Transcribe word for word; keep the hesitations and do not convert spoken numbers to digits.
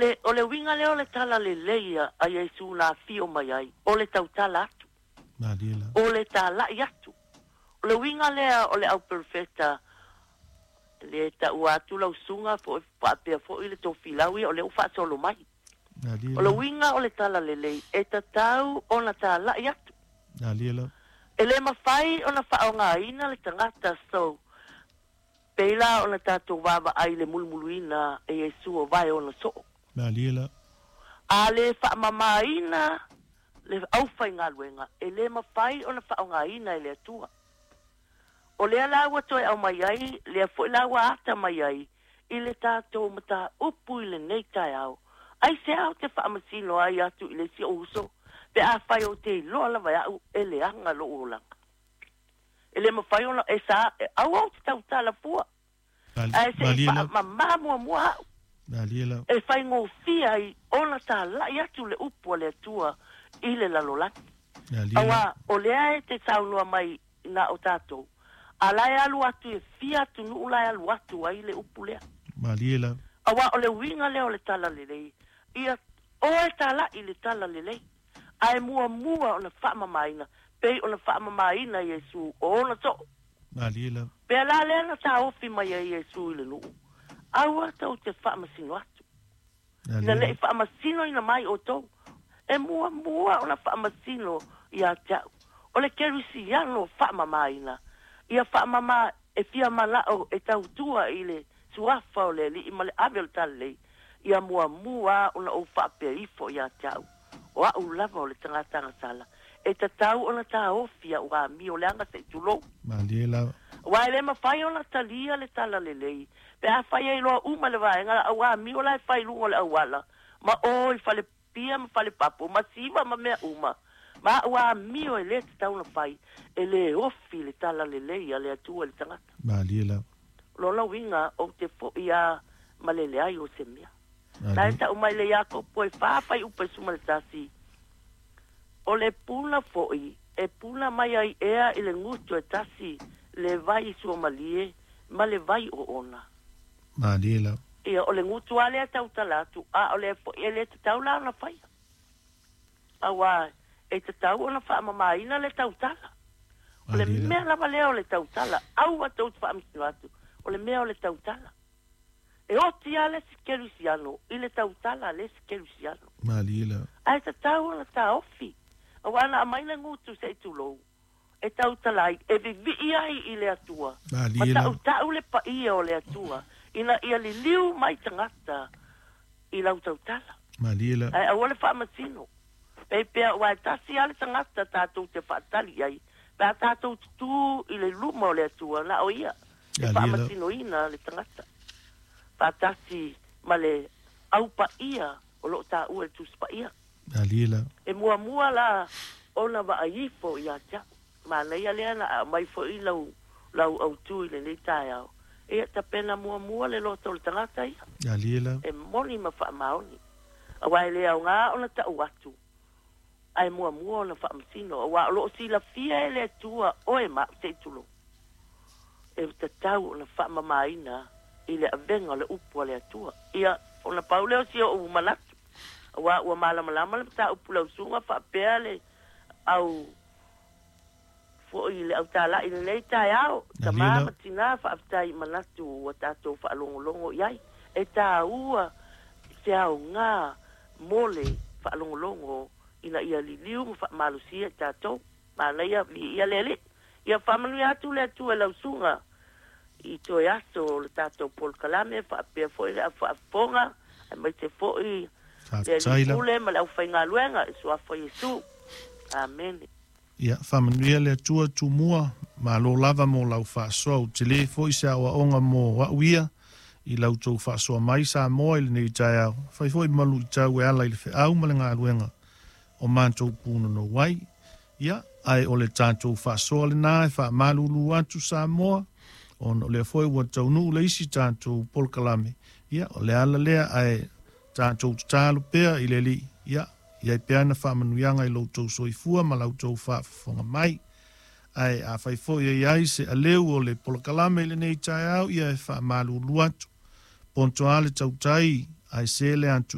le, o le uiga lea o le talalelei a Iesu na afio mai ai, o le tautala atu. Malie lava. O le tala'i atu. O le uiga lea o le auperofeta le ta'ua atu lausuga fo'i faapea fo'i le tofilau ia o lea ua faasolo mai. Malie O le lava. uiga o le talalelei e tatau ona tala'i atu. Malie lava. E lē mafai ona fa'aaogāina le tagata so pei la ona tatou vaavaai le mulumuluina e Iesu o vae ona so'o. Malie lava. A lē fa'amamāina le aufaigaluega e lē mafai ona fa'aaogāina e le Atua. O lea la ua toe aumai ai lea fo'i la ua ata mai ai i le tatou matāupu i lenei taeao. Ai se ao te faamasino ai atu i le isi ou uso pe afai ou te iloa lava e a'u e leaga lo'u olaga. E lē mafai ona e sa e aua ou te tautala fua. Ae se'i Malie lava. fa'amamā muamua a'u. Malie lava. E faigofie ai ona tala'i atu le upu a le Atua i le lalolagi. Malie lava. Auā o lea e te saunoa mai na o tatou. A la e alu atu e fia atunu'u la e alu atu ai le upu lea. Malie lava. Auā o le uiga lea o le talalelei. Ia oe tala'i le talalelei. Ae muamua ona fa'amamāina pei ona fa'amamāina Iesu o ona so'o. Malie lava. Pea la lea na taofi mai ai Iesu i le nu'u. Aua tou te fa'amasino atu. Ina Malie le'i lava. fa'amasino mai outou. E muamua ona fa'amasino ia te a'u. O le kerisiano fa'amamāina. Ia fa'amamā e fia mala'o e tautua i le suafa o le Ali'i ma le ave o le talalelei. Ia muamua ona ou fa'apea ifo ia te a'u. O a'u lava o le tagata agasala. E tatau ona taofi a'u amio leaga se'i tulou. Malie lava. Auā e lē mafai ona talia le talalelei. Pe afai ai loa uma le vaega au amio la e fai luga o le auala. Ma o i fale pia ma fale papo ma siva ma mea uma. Ma a'u amio e lē tatau ona fai. E lē ofi le talalelei a le Atua i le tagata. Malie lava. Lona uiga ou te fo'i a ma le leai o se mea. La e Malie. ta'u mai le Iakopo e fā faiupu e suma le tasi. O le puna fo'i e puna mai ai ea i le gutu e tasi le vai suamalie ma le vai o ona. Malie lava. Ia o le gutu a lea tautala atu a o le fo'i e lē tatau la ona faia. Auā e tatau ona fa'amamāina le tautala. O le Malie lava. mea lava lea o le tautala. Aua tou te fa'amasino atu. O le mea o le tautala. E oti a le isi kerisiano i le tautala a le isi kerisiano. Malie lava. Ae tatau ona taofi. Auā na aumai le gutu se'i tulou. E tautala ai e vivi'i ai i le Atua. Ma Malie lava. ta'uta'u le pa'ia o le Atua. Ina ia liliu mai tagata i lau tautala. Malie lava. Ae aua le fa'amasino. Pei pea ua e tasi a le tagata tatou te fa'atali ai. Pe a tatou tutū i le luma o le Atua na o ia. E Malie lava. fa'amasinoina le tagata. Fa'atasi ma le aupaia o lo'o tāua le Tusi Pa'ia. Malie lava. E muamua la ona vaai ifo ia te a'u. Manaia lea na aumai fo'i lau lau autū i lenei taeao. Ia tapena muamua le loto o le tagata ia. Malie lava. E moni ma fa'amaoni. Auā e le aogā ona ta'u atu. Ae muamua ona fa'amasino. Auā o lo'o silafia e le Atua oe ma a'u se'i tulou. E tatau ona fa'amamāina i le avega o le upu a le Atua. Ia ona pau lea o si o'u manatu. Auā ua malamalama le matāupu lausuga fa'apea le au fo'i le autala'i lenei taeao. Malie Tamā lava. ma tinā fa'afetai i manatu ua tatou fa'alogologo i ai. E tāua se aogā mo le fa'alogologo ina ia liliu ma fa'amalosia i tatou. Manaia vi'ia le Alii. Ia fa'amanuia atu le Atua i lausuga i toe aso o le tatou polokalame fa'apea fo'i le fa'afofoga aemaise fo'i le Fa'afetai lava. Pule ma le aufaigaluega i suafa o Iesu. Amene. Ia, fa'amanuia le Atua Tumua, malo lava mo lau fa'asoa u telē fo'i se a'oa'oga mo a'u ia i lau tou fa'asoa mai Samoa i lenei taeao. Fai fo'i malu'itau e ala i le fe'au ma le galuega o matou punonou ai. Ia, ae o le tatou fa'asoa lenā e fa'amalulu atu Samoa, ona o lea foi ua taunu'u le isi tatou polokalame. Ia, o le ala lea ae tatou tatalo pea i le Alii. Ia, i ai pea na fa'amanuiaga i loutou soifua ma lautou fa'afofoga mai. Ae afai foi e iai se aleu o le polokalame i lenei taeao, ia e fa'amalulu atu. Poto a le tautai ae se le atu